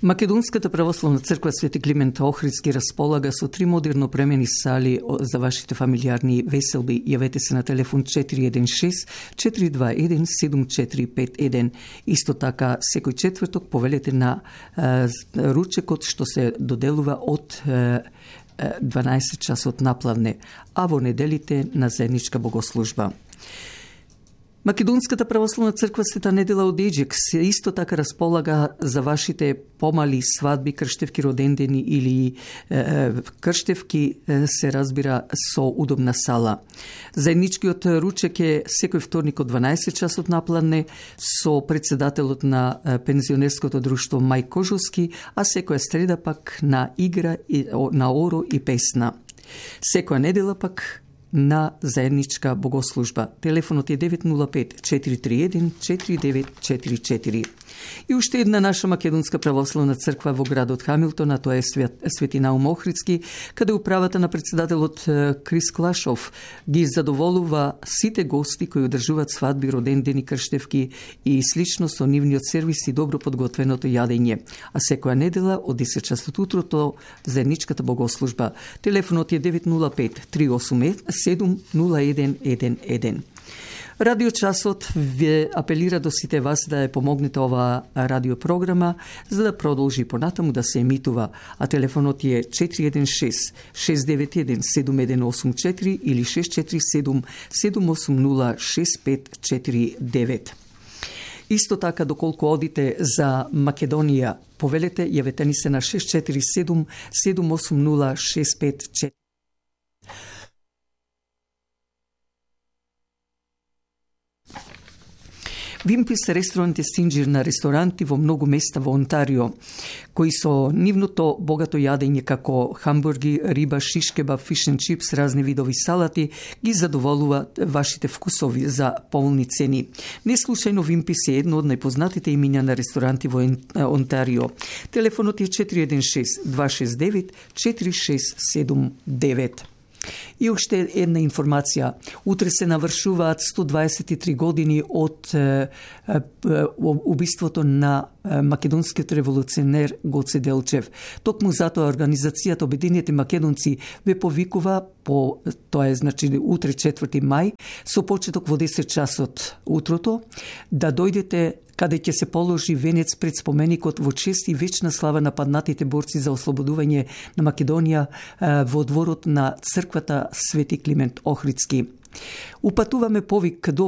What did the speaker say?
Македонската православна црква Свети Климент Охридски располага со 3 модерно премени сали за вашите фамилиарни веселби. Јавете се на телефон 416-421-7451. Исто така, секој четврток повелете на ручекот што се доделува од 12 часот напладне, а во неделите на заедничка богослужба. Македонската православна црква Света Недела од Еџек се исто така располага за вашите помали свадби, крштевки, родендени или крштевки, се разбира со удобна сала. Заедничкиот ручек е секој вторник од 12 часот напладне со председателот на пензионерското друштво Мај Кожовски, а секоја среда пак на игра, на оро и песна. Секоја недела пак на заедничка богослужба. Телефонот е 905-431-4944. И уште една наша македонска православна црква во градот Хамилтон, а тоа е Свети Наум Охридски, каде управата на председателот Крис Клашов ги задоволува сите гости кои одржуваат свадби, родендени, крштевки и слично со нивниот сервис и добро подготвеното јадење. А секоја недела од 10 часот утрото заедничката богослужба. Телефонот е 905-387-0111. Радиочасот ве апелира до сите вас да ја помогнете оваа радиопрограма за да продолжи понатаму да се емитува, а телефонот е 416-691-7184 или 647-780-6549. Исто така, доколку одите за Македонија, повелете, јавете ни се на 647-780-6549. Вимпис ресторант е синџир на ресторанти во многу места во Онтарио, кои со нивното богато јадење како хамбурги, риба, шишкеба, фиш and чипс, разни видови салати, ги задоволува вашите вкусови за полни цени. Не случајно Вимпис е едно од најпознатите имиња на ресторанти во Онтарио. Телефонот е 416-269-4679. И уште една информација. Утре се навршуваат 123 години од убиството на македонскиот револуционер Гоце Делчев. Токму затоа организацијата Обединети македонци ве повикува по тоа е значи утре 4 мај со почеток во 10 часот утрото да дојдете каде ќе се положи венец пред споменикот во чест и вечна слава на паднатите борци за ослободување на Македонија во дворот на црквата Свети Климент Охридски. Упатуваме повик до